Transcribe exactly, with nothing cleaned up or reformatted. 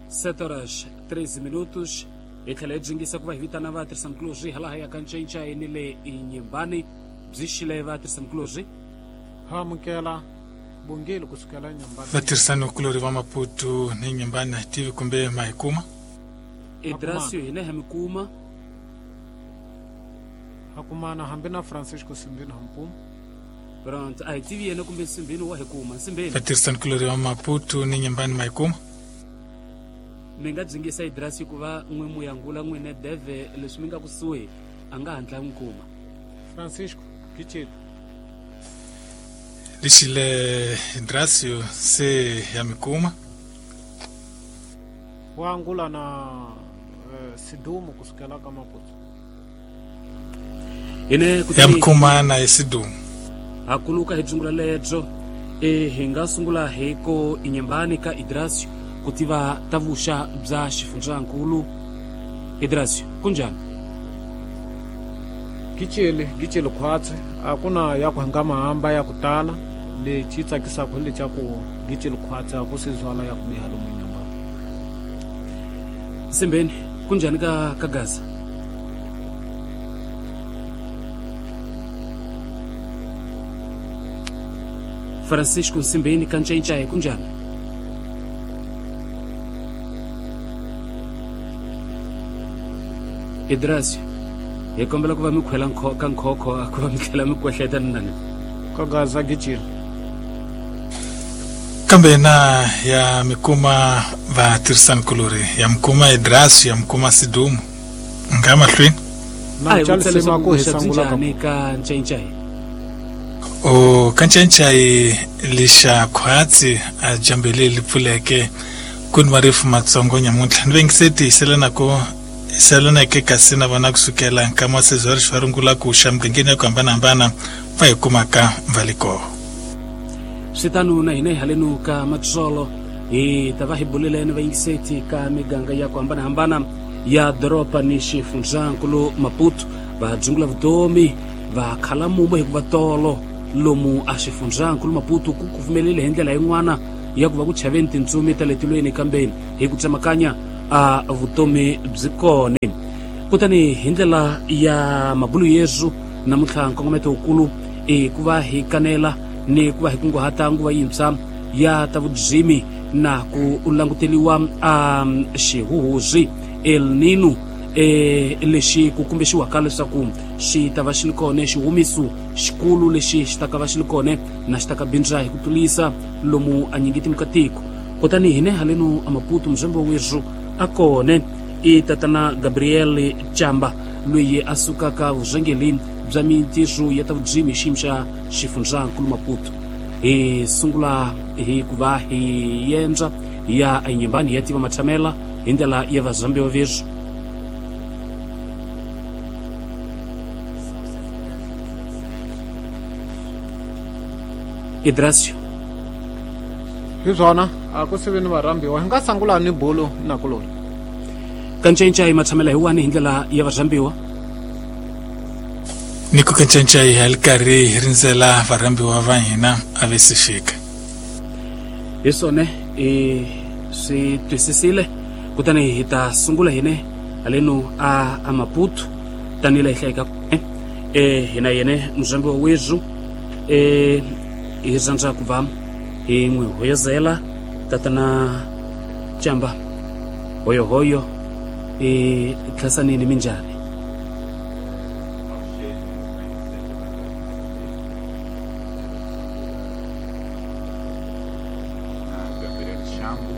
Sete horas treze minutos. Hi tlhela hi dzingisa ku va hi vitana vatirhisanikulorhi hala ya ka Ncayincayini ni le Nyembani. Byi xile vatirhisanikulorhi? Ha amukela bongeli kusukela Nyembani. Vatirhisanikulorhi va Maputo ni Nyembani a hi tivi kumbe ma hi kuma? Idrasio hina ha mi kuma. Ha kumana hambi na Francisco Simbini Hampum. Pronto, a hi tivi yena kumbe Simbini wa hi kuma. Simbini. Vatirhisanikulorhi va Maputo ni Nyembani ma hi kuma? Mi nga dzingisa Idrasi ku va n'wi muyangula n'wine deve leswi mi nga kusuhi a nga hatla n'wi kuma. Francisco Kicheli. Lixile Idrasio se ya mi kuma. Wa angula na uh, Sidumo kusukela ka Maputo. Ine ya mi kuma na Sidumo. Ha kuluka hi dzungula lebyo e hi nga sungula hi ko Inyembani ka Idrasio ku tiva ta vuxa bya xifundzankulu. Idrasio kunjani? Kicheli kicheli khwatsi a ku na ya ku hanga mahamba ya ku tala lexi tsakisaka hi lexa ku kicheli khwatsi a ku se zwala ya ku biha lomu Nyembani. Simbeni kunjani ka ka Gaza? Francisco Simbeni ka Ncayincaya kunjani? Idrasio hi kombela ku va mi khwela ka nkhokho ku va mi tlhela mi kwehleta ni nani ka Gaza Gichili. Kambe na ya mi kuma vatirhisanikulorhi ya mi kuma Idrasio ya mi kuma Sidumo nga mahlweni. Na Charles Mako hi sangula ka ka Ncayincaya. O ka Ncayincaya lixa khwatsi a jambele li pfuleke ku ni marifu matsongo nyamuntlha ni vengise tiyiselanako selaneke kasi na vona kusukela nkama wa sezwari xi va rungula ku xa mugangeni ya ku hambanahambana va hi kumaka va le koho. Swi tano na hina hi halenu ka Matsolo hi ta va hi buleleni vayingiseti ka miganga ya ku hambanahambana ya doroba ni xifundzankulu Maputo. Va dzungula vutomi va khala mumo hikuva tolo lomu a xifundzankulu Maputo ku kufumelele hi ndlela yin'wana ya ku va ku chaveni tintsumi ta le tilweni kambeni hi ku tsemakanya a vutomi byi kone. Kutani hi ndlela ya mabulu yesu namuntlha nkongometo wukulu i ku va hi kanela ni ku va hi kunguhata nguva yintshwa ya ta vudzimi na ku languteliwa a xihuhuzi El Nino e lexi ku kumbexiwaka leswaku xi ta va xi li kone xihumiso xikulu lexi xi ta ka va xi li kone na xi ta ka bindza hi ku tlulisa lomu a nyingiti mukatiko. Kutani hine halenu a Maputo muzembe wezu a kone i tatana Gabriel Chamba loyi a sukaka vuzengeli bya mintirho ya ta vudzimi xiyimo xa xifundzankulu Maputo. Hi sungula hi ku va hi yendza ya Nyembani ya tiva matshamela hi ndlela ya vazambiwa vezu. Idrasio hi swona a ku sivi ni varhambiwa hi nga sangula ni bulu na kulori ka Ncayincaya matshamela hi wani hi ndlela ya varhambiwa ni ku ka Ncayincaya hi li karhi hi rindzela varhambiwa va hina a ve si fika. Hi swona i swi twisisile kutani hi ta sungula hine halenu a a Maputo tanihila hi hlayeka e hina yene muzambi wa wezu e hi rhandza ku va hi n'wi hoyozela tatana Chamba hoyohoyo e thlasanini minjhani? Gabriel Chambo.